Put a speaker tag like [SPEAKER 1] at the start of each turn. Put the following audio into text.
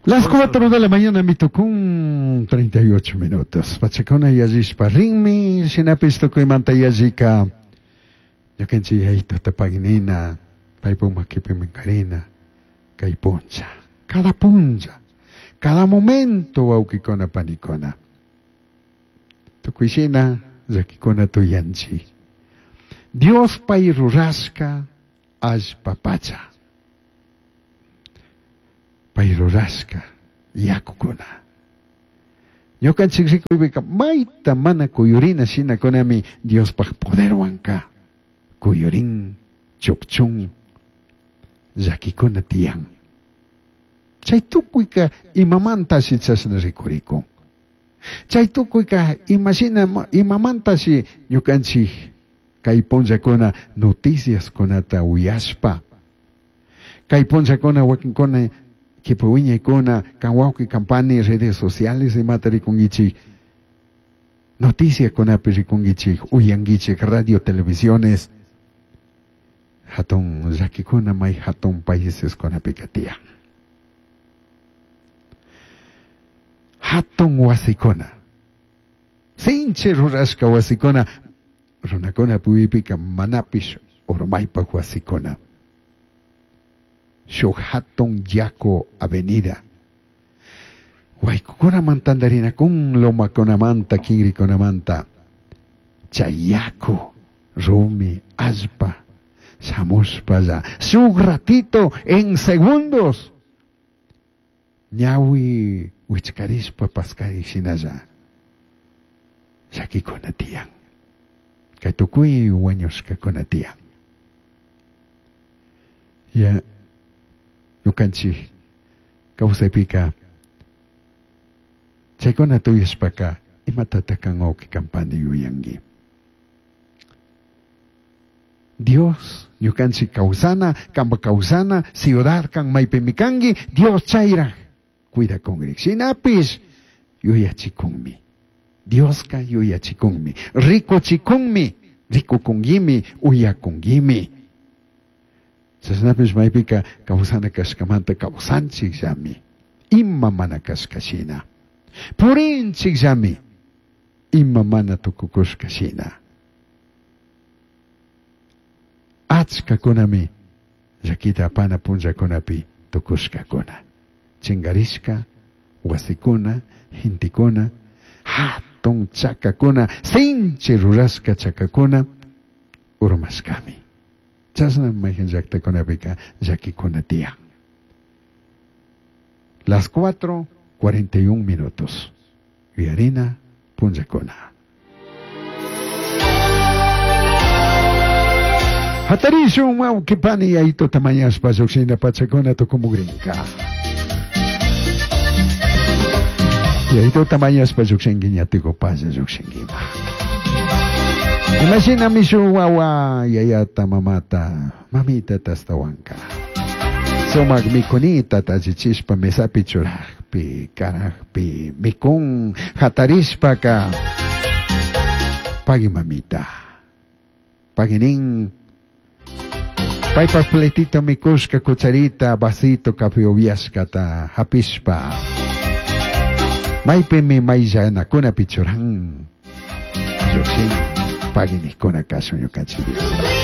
[SPEAKER 1] Las 4 de la mañana mitucun 38 minutos. Pachacuna yallishpa rinmi, shinapish tucuymanta yallika ñukanchik yayituta paginina, paypuk makipi minkarina, kay puncha, cada puncha, cada momento wawkikuna panikuna. Tukuy shina llakikuna tuyanchik. Dios pay rurashka allpa pacha. Pay rurashka yakukuna. Ñukanchik rikuypika mayta mana kuyurina shinakunami Diospaj poderwanka kuyurin, chukchun, llakikuna tiyan. Chay tukuyka imamantashi chashna rikurikun. Chay tukuyka imashina imamantashi ñukanchik kay punllakuna noticiaskunata uyashpa, kay punllakuna wakinkuna kipa wiñaykuna kan wawqi kan pani redes sociales imata rikunkichik, noticiakunapi rikunkichik, uyankichik radio televisiones, hatun llakikuna may hatun paiseskunapika tiyan. Hatun wasikuna, sinchi rurashka wasikuna, runakuna puypika manapish urmaypak wasikuna. Shuk hatun yaku avenida. Waykukunaman tantarinakun lomakunamanta, kinrikunamanta. Chay yaku, rumi, allpa, shamushpalla, shuk ratito en segundos. Ñawi wichkarishpa paskarik shinalla llakikuna tiyan. Kay tukuy wañushkakuna tiyan. Ya ñukanchik kawsaypika chaykuna tuyashpaka imatataq kan wawqi kan pani yuyanki. Dios ñukanchik kawsana, kanpa kawsana, ciudad kan maypimi kanki, Dios chayraj cuidakunrik. Shinapish yuyachikunmi. Dioska yuyachikunmi, rikuchikunmi, rikukunkimi, uyakunkimi. Chashnapish maypika kawsana kashkamanta kawsanchikllami, ima mana kashka shina. Purinchikllami, ima mana tukukushka shina. Achkakunami llakita apana punllakunapi tukushkakuna. Chinkarishka, wasikuna, gentekuna, hatun chakakuna, sinchi rurashka chakakuna, urmashkami. Chashna mayhan llaktakunapika llakikuna tiyan. Las 4:41 minutos. Yuyarina punllakuna. Hatarishun wawqi pani yayituta mañashpa lluqshina pachakuna tukumukrinka. Yayituta mañashpa lluqshinki ñatikupalla lluqshinkima. Imashina mishu wawa yayata mamata mamitata astawanka. Sumak mikunita tallichishpa mesapi churajpi karajpi mikun hatarishpaka pagui mamita. Pagui nin. Paypak platito mikushka cucharita vasito café upiashkata hapishpa. Maypimi mayllanakunapi churan. Llukshin pagui nikkuna kashun ñukanchik Dios.